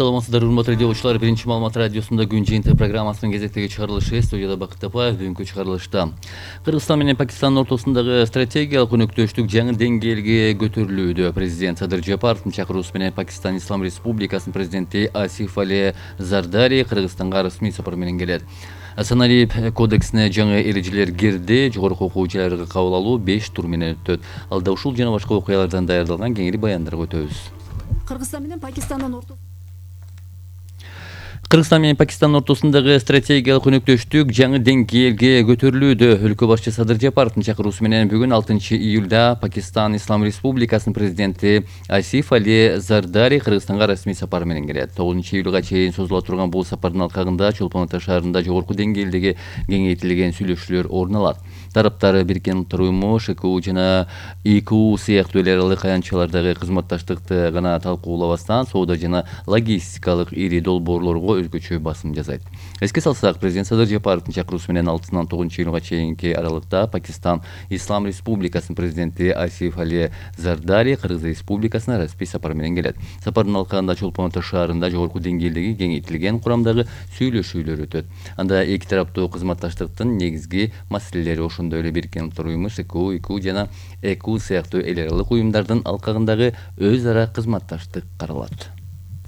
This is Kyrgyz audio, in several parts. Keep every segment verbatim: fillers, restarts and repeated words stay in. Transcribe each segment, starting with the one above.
саламатсыздар, урматтуу радиочулар. Биринчи маалымат радиосунда күн жыйынтыгы программасынын кезектеги чыгарылышы. Студияда Бакыт Тапаев. Бүгүнкү чыгарылышта Кыргызстан менен Пакистандын ортосундагы стратегиялык өнөктөштүк жаңы деңгээлге көтөрүлүүдө. Президент Садыр Жапаровдун чакыруусу менен Пакистан Ислам Республикасынын президенти Асиф Али Зардари Кыргызстанга расмий сапар менен келет. Саналип кодексине жаңы эрежелер кирди. Жогорку окуу жайларга кабыл алуу беш тур менен өтөт. Алда ушул жана башка окуялардан даярдалган кеңири баяндарга өтөбүз. Кыргызстан менен Пакистандын ортосунда Кыргызстан менен Пакистандын ортосундагы стратегиялык өнөктөштүк жаңы деңгээлге көтөрүлүүдө. Өлкө башчысы Садыр Жапаровдун чакыруусу менен бүгүн алтынчы июлда Пакистан Ислам Республикасынын президенти Асиф Али Зардари Кыргызстанга расмий сапар менен келет. тогузунчу июлга чейин созула турган бул сапардын алкагында Чолпон Ата шаарында жогорку деңгээлдеги кеңейтилген сүйлөшүүлөр орун алат. Тараптар Бириккен Улуттар уюму, ШКУ жана ИКУ сыяктуу эл аралык аянтчалардагы кызматташтыкты гана талкуулабастан, соода жана логистикалык ири долбоорлорго өзгөчө басым жасайт. Эске салсак, президент Садыр Жапаровдун чакыруусу менен алтысынан тогузунчу июлга чейинки аралыкта Пакистан Ислам Республикасынын президенти Асиф Али Зардари Кыргыз Республикасына расмий сапар менен келет. Сапардын алкагында Чолпон Ата шаарында жогорку деңгээлдеги кеңейтилген курамдагы сүйлөшүүлөр өтөт. Анда эки тараптуу кызматташтыктын негизги маселелери, ошондой эле Бириккен Улуттар уюму, ШКУ, ИКУ жана ЭКУ сыяктуу эл аралык уюмдардын алкагындагы өз ара кызматташтык каралат.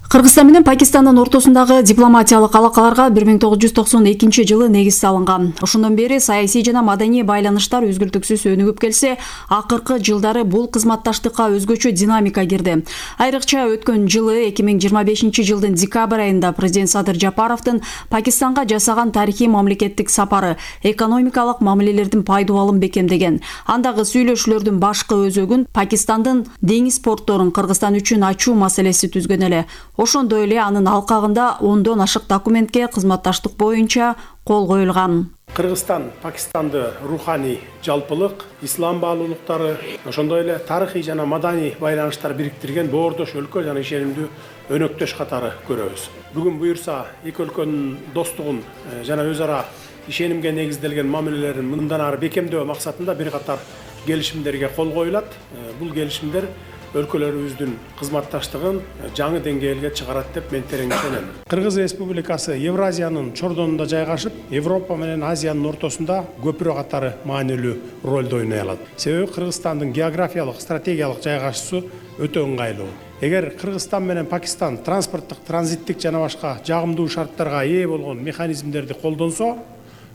Кыргызстан менен Пакистандын ортосундагы дипломатиялык алакаларга бир миң тогуз жүз токсон экинчи жылы негиз салынган. Ошондон бери саясий жана маданий байланыштар үзгүлтүксүз өнүгүп келсе, акыркы жылдары бул кызматташтыкка өзгөчө динамика кирди. Айрыкча өткөн жылы эки миң жыйырма бешинчи жылдын декабрь айында президент Садыр Жапаровдун Пакистанга жасаган тарыхый мамлекеттик сапары экономикалык мамилелердин пайдубалын бекемдеген. Андагы сүйлөшүүлөрдүн башкы өзөгүн Пакистандын деңиз портторун Кыргызстан үчүн ачуу маселеси түзгөн эле. Ошондой эле анын алкагында ондон ашык документке кызматташтык боюнча кол коюлган. Кыргызстан Пакистанды руханий жалпылык, ислам баалуулуктары, ошондой эле тарыхый жана маданий байланыштар бириктирген боордош өлкө жана ишенимдүү өнөктөш катары көрөбүз. Бүгүн буюрса эки өлкөнүн достугун жана өз ара ишенимге негизделген мамилелерин мындан ары бекемдөө максатында бир катар келишимдерге кол коюлат. Бул келишимдер өлкөлөрүбүздүн кызматташтыгын жаңы деңгээлге чыгарат деп мен терең ишенем. Кыргыз Республикасы Евразиянын чордонунда жайгашып, Европа менен Азиянын ортосунда көпүрө катары маанилүү ролду ойной алат. Себеби Кыргызстандын географиялык, стратегиялык жайгашуусу өтө ыңгайлуу. Эгер Кыргызстан менен Пакистан транспорттук, транзиттик жана башка жагымдуу шарттарга ээ болгон механизмдерди колдонсо,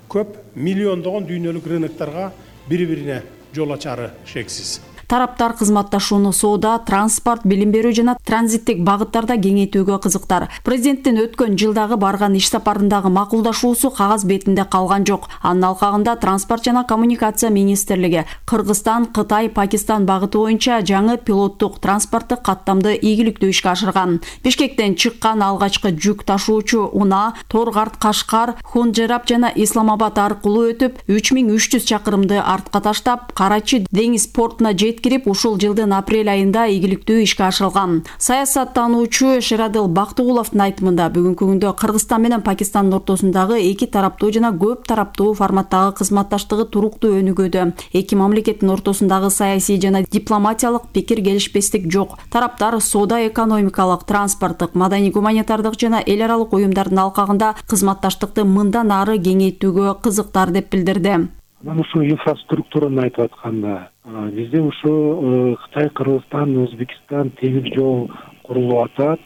көп миллиондогон дүйнөлүк рыноктарга бири-бирине жол ачары шексиз. Тараптар кызматташууну соода, транспорт, билим берүү жана транзиттик багыттарда кеңейтүүгө кызыктар. Президенттин өткөн жылдагы барган иш сапарындагы макулдашуусу кагаз бетинде калган жок. Анын алкагында транспорт жана коммуникация министрлиги Кыргызстан, Кытай, Пакистан багыты боюнча жаңы пилоттук транспорттук каттамды ийгиликтүү ишке ашырган. Бишкектен чыккан алгачкы жүк ташуучу унаа Торгарт, Кашкар, Хунжерап жана Исламабад аркылуу өтүп, үч миң үч жүз чакырымды артка таштап, Карачи деңиз портуна кирип ушул жылдын апрель айында ийгиликтүү ишке ашырылган. Саясаттануучу Шерадыл Бактыгуловдун айтымында бүгүнкү күндө Кыргызстан менен Пакистандын ортосундагы эки тараптуу жана көп тараптуу форматтагы кызматташтыгы туруктуу өнүгүүдө. Эки мамлекеттин ортосундагы саясий жана дипломатиялык пикир келишпестик жок. Тараптар соода, экономикалык, транспорттук, маданий гуманитардык жана эл аралык уюмдардын алкагында кызматташтыкты мындан ары кеңейтүүгө кызыктар деп билдирди. Мен ушу инфраструктураны айтып атканда, бизде ушу Кытай, Кыргызстан, Өзбекстан темир жол курулуп атат.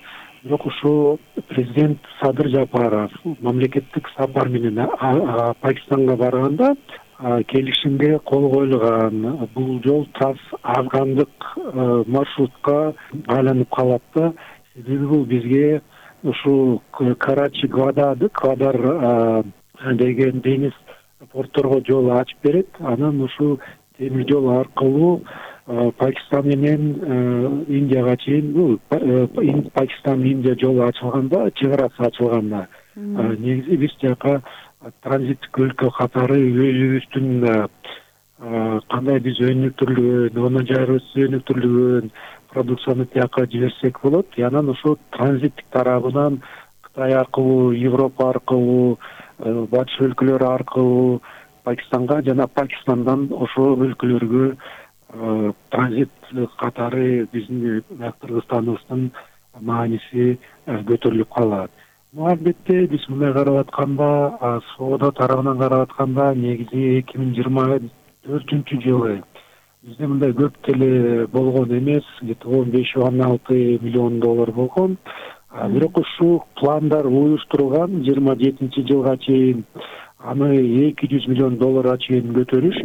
Бирок ушу президент Садыр Жапаров мамлекеттик сапар менен Пакистанга барганда келишимге кол коюлган. Бул жол трансафгандык маршрутка айланып калат да. Себеби бул бизге ушу Карачи, Гвадар деген деңиз портторго жол ачып берет. Анан ушу темир жол аркылуу Пакистан менен Индияга чейин, Пакистан Индия жолу ачылганда, чек арасы ачылганда, негизи биз жака транзиттик өлкө катары өзүбүздүн кандай биз өнүктүрүлгөн, онун жайыбыз өнүктүрүлгөн продукцияны тияка жиберсек болот. Анан ушу транзиттик тарабынан Кытай аркылуу, Европа аркылуу, батыш өлкөлөрү аркылуу Пакистанга жана Пакистандан ошол өлкөлөргө транзит катары биздин Кыргызстаныбыздын мааниси көтөрүлүп калат. Албетте биз мындай карап атканда, соода тарабынан карап атканда негизи эки миң жыйырма төртүнчү жылы бизде мындай көп деле болгон эмес, где-то он беш он алты миллион доллар болгон. Бирок ушул пландар уюштурулган жыйырма жетинчи жылга чейин аны эки жүз миллион долларга чейин көтөрүш.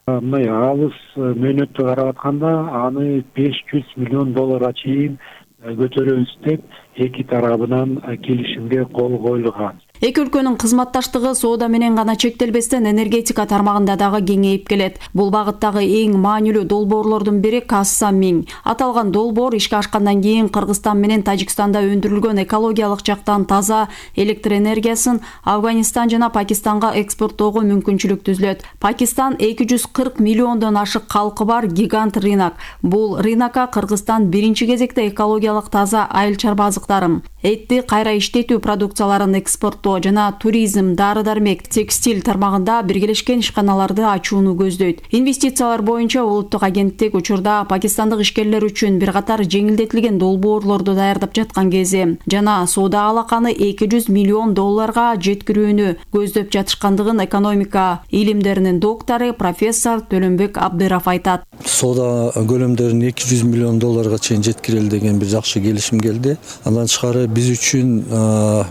Мындай алыс мөөнөттү карап атканда аны беш жүз миллион долларга чейин көтөрөбүз деп эки тарабынан келишимге кол коюлган. Эки өлкөнүн кызматташтыгы соода менен гана чектелбестен энергетика тармагында дагы кеңейип келет. Бул багыттагы эң маанилүү долбоорлордун бири Касса Миң. Аталган долбоор ишке ашкандан кийин Кыргызстан менен Тажикстанда өндүрүлгөн экологиялык жактан таза электр энергиясын Афганистан жана Пакистанга экспорттоого мүмкүнчүлүк түзүлөт. Пакистан эки жүз кырк миллиондон ашык калкы бар гигант рынок. Бул рынокко Кыргызстан биринчи кезекте экологиялык таза айыл чарба азыктарын, этти кайра иштетүү продукцияларын экспорттоо жана туризм, дары-дармек, текстиль тармагында биргелешкен ишканаларды ачууну көздөйт. Инвестициялар боюнча улуттук агенттик учурда пакистандык ишкерлер үчүн бир катар жеңилдетилген долбоорлорду даярдап жаткан кези жана соода алаканы эки жүз миллион долларга жеткирүүнү көздөп жатышкандыгын экономика илимдеринин доктору профессор Төлөнбек Абдыров айтат. Соода көлөмдөрүн эки жүз миллион долларга чейин жеткирели деген бир жакшы келишим келди. Андан тышкары биз үчүн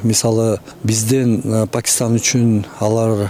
мисалы бизден Пакистан үчүн алар